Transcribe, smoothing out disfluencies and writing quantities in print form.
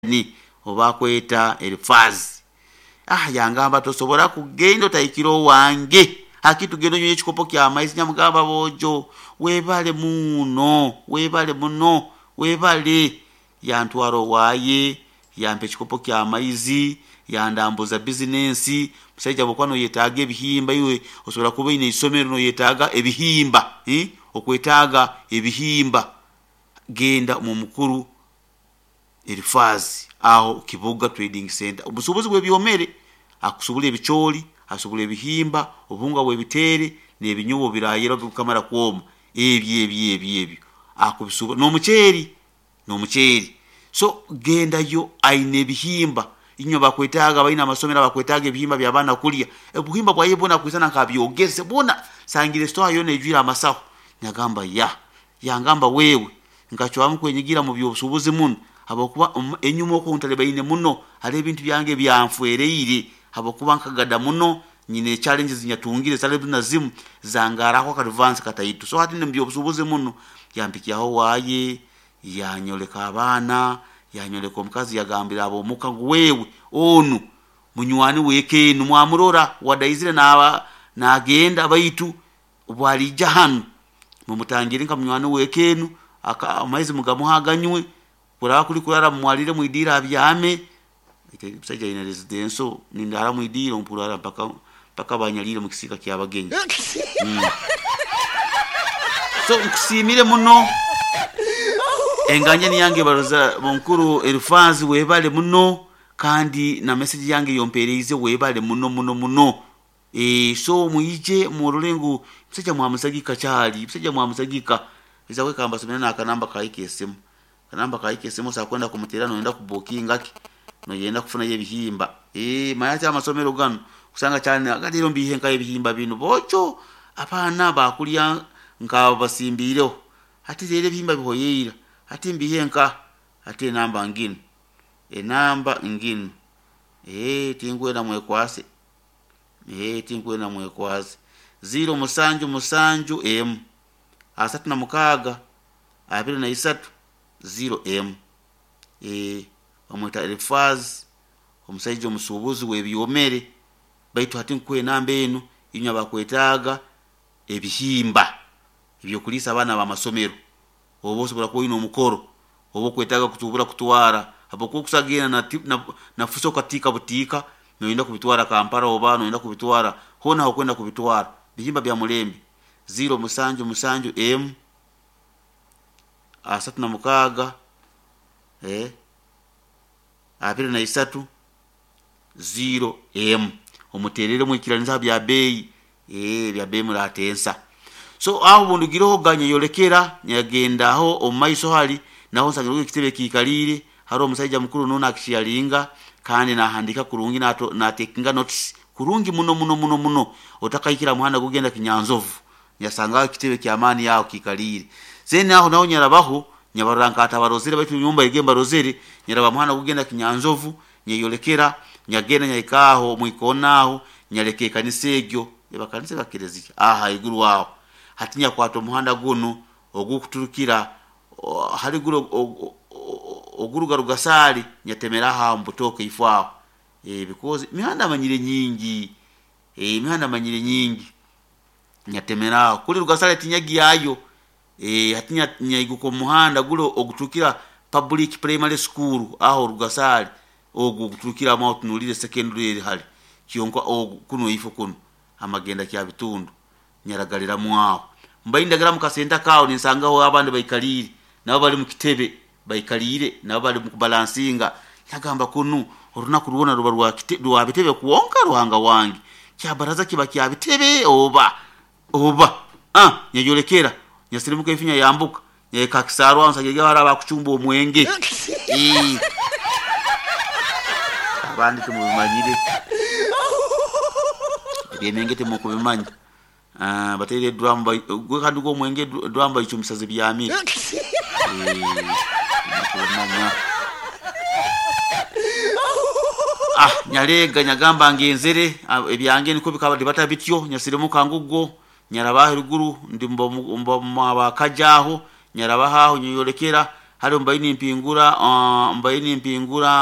Ni oba akweta Elifaazi. Ah, yangamba tosobora kugenda otahikire owange. Haki tugenda onywe ekikopo ky'amaizi. Nyamugamba boojo, webale muno, webale muno, webale. Yantwara owaye, yampa ekikopo ky'amaizi, yandambuza bizinensi. Musaija bwokuba noyetaaga ebihimba iwe osobora kuba oine eisomero noyetaaga ebihimba, eh, okwetaaga ebihimba, genda omu mukuru Elifaazi aho Kibuga Trading Centre. Omusuubuzi w'ebyomere akusubura ebicoori, asubura ebihimba, obuhunga bw'ebiteere n'ebinyobwa obirayera bikamara kwoma. Ebyo ebyo ebyo ebyo akubisubura n'omuceeri n'omuceeri. So gendayo aine ebihimba. Inywe abakwetaaga abaine amasomero abakwetaaga ebihimba by'abaana kulya, obuhimba bwaye bwona akwisana nk'abyogeze bwona. Nsangire esitowa yoona eijwire amasaho. Nagamba ya. Yangamba wewe nkacwamu kwenyigira mu by'obusuubuzi munu habwokuba enyuma oku ntalibaine muno hariho ebintu byange ebyanfwereire habwokuba nkagada muno nyine challenges zinyatungire zitari na zimu zangaraho akadvansi kataito. So hati ndi mu by'obusuubuzi muno. Yampikyaho owaaye, yanyoleka abaana, yanyoleka omukazi yagambira ab'omuka ngu wewe onu munywani w'eka enu mwamurora wadaizire naaba nagenda baitu obu ariija hanu mumutangirre nka munywani w'eka enu, amaizi mugamuhe aganywe, kuraba kuri kurara mumwarire omwidiiro abyame. Omusaija aine residenso, nindaara omwidiiro mpurara mpaka mpaka banyariire omu kisiika ky'abagenyi. So nkusiimire muno enganjani yange baroza Mukuru Elifaazi webale muno kandi na message yange ey'ompeereize webale muno muno muno. Eeh so mwije murole ngu omusaija mwamusagika kyali, omusaija mwamusagika. Iza we kambasomere n'akanamba kaye k'esimu. Akanamba kaye k'esimu osobola kwenda kumuteerera noyenda kubukinga ki, noyenda kufunayo ebihimba. Eeh manya hati amasomero ganu osanga kyali leero mbiihe nkahi ebihimba binu boojo abaana baakurya nk'abasimbiireho. Hati leero ebihimba bihoyeire, hati mbiihe nkaha? Hati enamba nginu, enamba nginu, eeh tinkwenda mwekwase. Eeh tinkwenda mwekwase. Ziiro musanju musanju emu, 36, 23, ziiro emu. Eeh bamweta Elifaazi omusaija omusuubuzi w'ebyomere. Baitu hati nkuha enamba enu inywe abakwetaaga ebihimba eby'okuliisa abaana b'amasomero. Oba osobora kuba oine omukoro, oba okwetaaga kutuubura kutwara habwokuba okusa genda na, na, na fuso okatiika butiika noyenda kubitwara Kampala oba noyenda kubitwara hoona ahokwenda kubitwara. Bihimba bya mulembe. Ziiro musanju musanju emu, 36, eh, 23, ziiro emu. Omuteerere mwikiranize aha bya beeyi, eeh ebya beeyi muratensa. So aho obundugireho ganyeyolekera nyagenda aho omu maiso hari naho nsangireho ekitebe kiikariire hariho omusaija mukuru nuwe nakisharinga kandi nahandiika kurungi natekinga notes kurungi muno muno muno muno otakahikire aha muhanda gukugenda Kinyanzovu nyasangaho ekitebe ky'amaani aho kiikariire. Then aho naho nyarabaho nyabarora nk'atabarozere baitu nyowe mbaire mbarozere nyaraba aha muhanda gukugenda Kinyanzovu nyeyolekera nyagenda nyahika aho omu ikoona aho nyaleka ekanisa egyo eba kanisa eba kelezia aho haiguru aho. Hati nyakwata omuhanda gunu ogukuturukira hali guri oguruga Rugasaali nyatemeraho aho omu Butooke ifo aho because emihanda manyire nyingi, emihanda manyire nyingi nyatemera aho. Kuri Rugasaali tinyagyayo hati nyaiguka omu muhanda guri oguturukira Public Primary School aho Rugasaali ogu oguturukiramu aho otunuliire secondary eri hare kyonka ogu kunu ifo kunu amagenda Kyabitundu nyaragariramu aho. Mbaire ndagara omu kasenta kaaho ninsangaho abandi baikariire nabo bari omu kitebe baikariire nabo bari omu kubalansinga. Nagamba kunu orunaku rwona ruba rwa bitebe kwonka Ruhanga wange? Kya baraza kiba kya bitebe oba? Oba? Ah! Nyayorekera, nyasirimuka ife nyayambuka, nyahika aha kisaaru aho nsangire hariho abakucumba omwenge. Eeh! Abandi timubimanyire. Eby'emyenge timukubimanya. Ah, bataire eduramu bai- gwe kandi gwo omwenge eduramu bagicumbisa zibyamire. Eeh, timukubimanya. Ah, nyareega nyagamba ngenzere, ah, ebyange nikwo bikaba bata bityo, nyasirimuka ngugwo, nyaraba ahaiguru, ndi mba mwa bakaja aho, nyarabaho aho nyeyorekera. Hare mbaire nimpingura, mbaire nimpingura.